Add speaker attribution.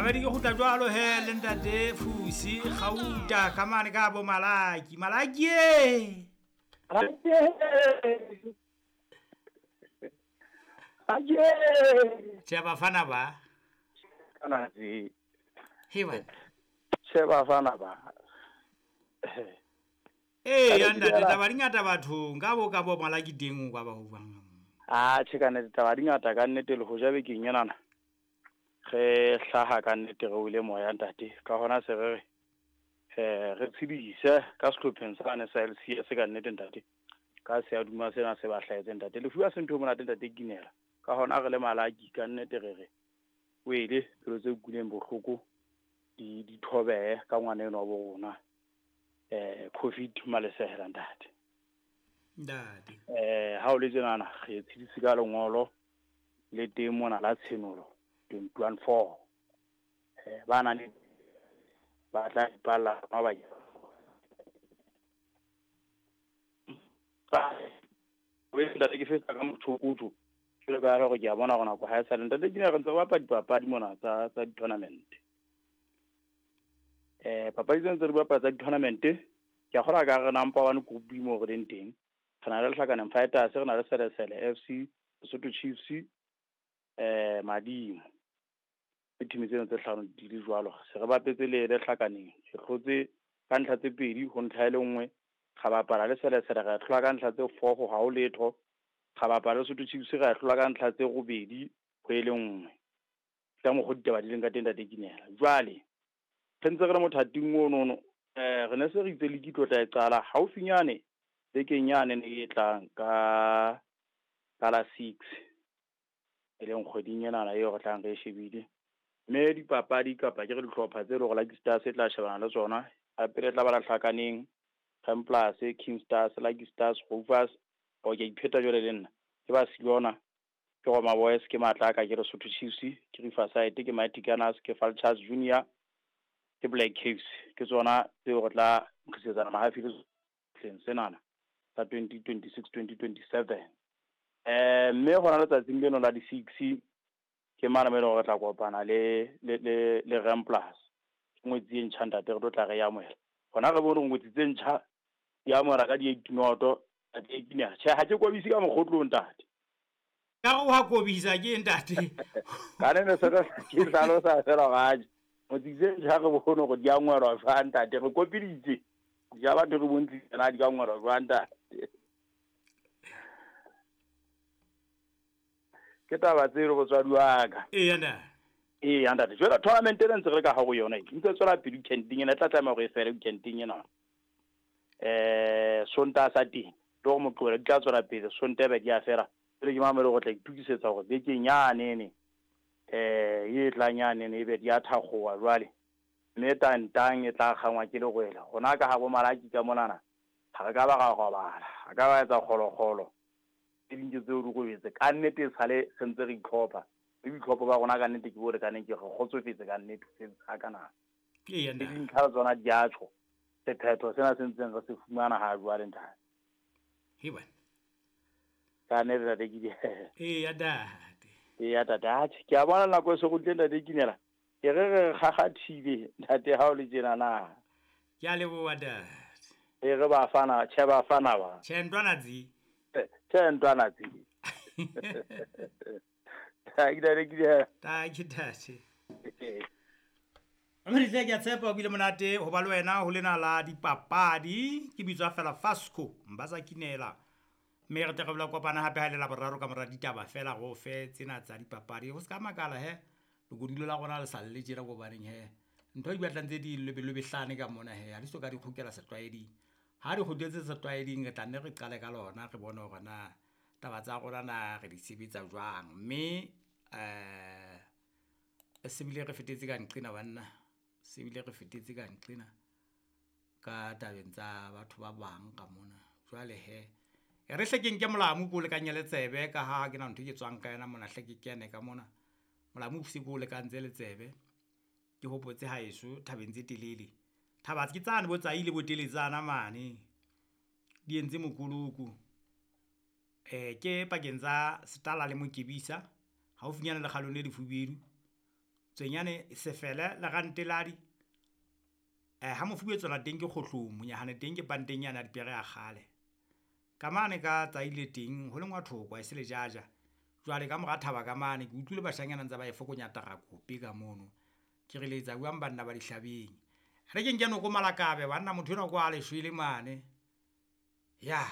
Speaker 1: Mamedi ke kgutla jwalo he le ntate Fusi Gauta ka mane ka bo Malaki. Malaki e! Tjhe bafana ba. He bana.
Speaker 2: Tjhe bafana ba.
Speaker 1: Ee ya ntate taba di ngata bathong ka bo ka bo Malaki teng o ka ba ho buang.
Speaker 2: Ah tjhe ka nnete taba di ngata ka nnete le hoja bekeng enana. Re hlaha ka nnete re wele moya ntate ka hona se re re re tshedise ka sehlopheng sane sa LCS ka nnete ntate ka se a duma sena se ba hlahetseng ntate lefu ha se ntho e monate ntate Kinela ka hona re le Malaki ka nnete re re wele pelo tse utlwileng bohloko di di thobehe ka ngwana enwa wa bo rona Covid Malesela ntate.
Speaker 1: Ntate.
Speaker 2: Ha o le tjenana re tshedise ka lengolo le teng mona la Tshenolo 21:4. Ba nang le ba tla ipalla ba ntate ke fetsa ka motho jwalo ka hore ke a bona hore nako ha e sale ntate ke ne re ntse re bapala dipapadi mona tsa tsa di-tournament. Papadi tsena tse re bapala tsa di-tournament ke a kgolwa ka re number one group mo re leng teng. Re na le Lehlakaneng Fighters, re na le Selesele FC, Lesotho Chiefs, Madimo. Ke team tseno tse hlano di le jwalo. Se re bapetse le Lehlakaneng. Re hlotse ka ntlha tse pedi ho ntlha e le nngwe. Ra bapala le Selesele ra hlola ka ntlha tse 4 ho ha ho letho. Ra bapala le Lesotho Chiefs ra hlola ka ntlha tse robedi ho e le nngwe. Ka mokgwa ditaba di leng ka teng ntate Kinela. Jwale re ntse re le mothating ono re ne se re itse league e tlo tla e qala haufinyane bekeng yane ne e tlang ka ka la 6 e leng kgweding enana eo re tlang re e shebile. Mme dipapadi kapa ke re dihlopha tse leng hore Lucky Stars e tla shebana le tsona. Ya pele e tla ba Lehlakaneng, Ramplus, King Stars, Lucky Stars, Rovers. O ke a ipheta jwale le nna. Ke Barcelona, ke Roma Boys, ke Matlaka, ke Lesotho Chiefs, ke Riverside, ke Mighty Gunners, ke Vultures Junior, ke Black Caves. Ke tsona tseo re tla nkgisetsana mahafi le sehleng senana sa 2026-2027. Mme hona letsatsing leno la di-6 ke mane mo e leng hore re tla kopana le le le le Ramplus. Ke ngwetsi e ntjha ntate re tlo tla re e amohela. Hona re bone hore ngwetsi tse ntjha di amohela ka di-8 noto ntate Kinela. Tjhe ha ke kobise ka mokgotlong ntate.
Speaker 1: Ka re wa kobisa ke ntate.
Speaker 2: Ka ne ne se ke hlalosa fela hore atjhe ngwetsi tse ntjha re bone hore di amohelwa jwang ntate. Re kopiditse ja batho re bontshitse na di ka amohelwa jwang ntate. Ke taba tseo botswadi wa ka.
Speaker 1: Eya ntate.
Speaker 2: Eya ntate. Jwale tournament ena ntse re le ka hare ho yona e ntse tswela pele weekending ena e tla tlameha hore e fele weekending ena. Sontaha sa teng le hore Moqebelo di tla tswela pele Sontaha be di a fela. Jwale ke mamele hore tla itokisetsa hore bekeng yanene e tlang yanene ebe di a thakgowa jwale. Mme tantang e tla kgangwa ke lerwele. Rona ka ha bo Malaki ka monana ha re ka ba ra robala. Ha ka ba etsa kgolokgolo. Tse ding ke tseo di robetse. Ka nnete e sale re ntse re itlhopha. Le boitlhopho ba rona ka nnete ke bo lekaneng ke re kgotsofetse ka nnete se hakana.
Speaker 1: Eya
Speaker 2: Le
Speaker 1: ntate.
Speaker 2: dintlha tsona di a tjho. Sephetho sena se ntseng re se fumana ha jwale ntate.
Speaker 1: He bana.
Speaker 2: Ka nnete ntate ke di
Speaker 1: Eya ntate.
Speaker 2: Eya ntate, atjhe ke a bona nako e se kgutlile ntate Kinela. Ke re re kgakgathile ntate ha o le tjena na.
Speaker 1: Ke a leboha ntate.
Speaker 2: E re bafana, tjhe bafana ba.
Speaker 1: Tjhe ntwana tse.
Speaker 2: Tjhe ntwana tse. Ha ke ntate Kinela.
Speaker 1: Tanki ntate. Mme tle ke a tshepa o bile monate ho ba le wena ho lena la dipapadi. Ke bitswa fela Fasco Mbasa Kinela. Mme re tle re bola kopana hape ha le la boraro ka mora ditaba fela go fe tsena tsa dipapadi. Ho ska makala he lekodilo la rona le sa le tjena go baneng he. Ntho di batlang tse di lobelobehlane ka mona he. Ha di so ka di kgutlela setlwaeding. Ha di kgutletse setlwaeding re tla nne re qale ka lona re bone hore na taba tsa rona na re di sebetsa jwang. Mme se bile re fetetse ka nqena banna. Se bile re fetetse ka nqena ka tabeng tsa batho ba bang ka mona. Jwale he e re hle ke nke molamu ko lekanye le tsebe ka ha ke na ntho ke tswang ka yona mona hle ke kene ka mona. Molamu se ko lekantse le tsebe. Ke hopotse haeso thabeng tse telele. Thaba ke tsane bo tsaile bo teletsana mane. Di entse mokoloko. Ke pakeng tsa Setala le Mokebisa haufinyana le kgalong le lefubedu. Tswenyane Sefele le Ranteladi. Ha Mofubeetswana teng ke Kgohlong, Monyahane teng ke panteng yane ya dipere ya kgale. Ka mane ka Tsaile teng ho lengwa thoko ha e se lejaja. Jwale ka mora thaba ka mane ke utlwile bashanyana ntse ba e fokonya tarakope ka mono. Ke re letsa buang banna ba dihlabeng. Re ke nke noko Malakabe banna motho enwa kwa a le shwele mane. Ya.